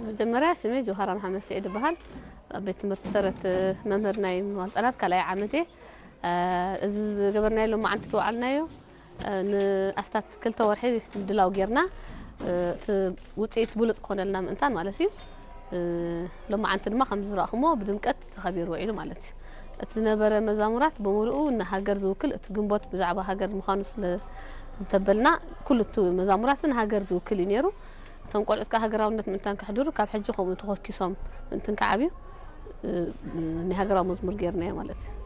መጀመርያ ሽመይ ጆሃራ መሓመድ ስዒድ ይበሃል። ኣብ ቤት ትምህርቲ ሰረት መምህር ናይ ምዋል ህጻናት ካልኣይ ዓመት እየ። እዚ ዝገበርናዮ ሎማዓንቲ ዝወዓልናዮ ንኣስታት ክልተ ወርሒ ምድላው ጌርና፣ እቲ ውፅኢት ብሉፅ ክኾነልና ምእንታን ማለት እዩ። ሎማዓንቲ ድማ ከም ዝረእኹሞ ብድምቀት ተኸቢሩ ውዒሉ ማለት እዩ። እቲ ዝነበረ መዛሙራት ብምሉኡ ንሃገር ዝውክል፣ እቲ ግንቦት ብዛዕባ ሃገር ምዃኑ ስለ ዝተበልና፣ ኩሉ እቲ መዛሙራት ንሃገር ዝውክል እዩ ነይሩ። እቶም ቆልዑት ከዓ ሃገራውነት ምእንታን ከሕድሩ ካብ ሕጂ ከምኡ ተኾኪሶም ምእንትን ክዓብዩ፣ እ፣ ናይ ሃገራዊ መዝሙር ጌርናዮ ማለት እዩ።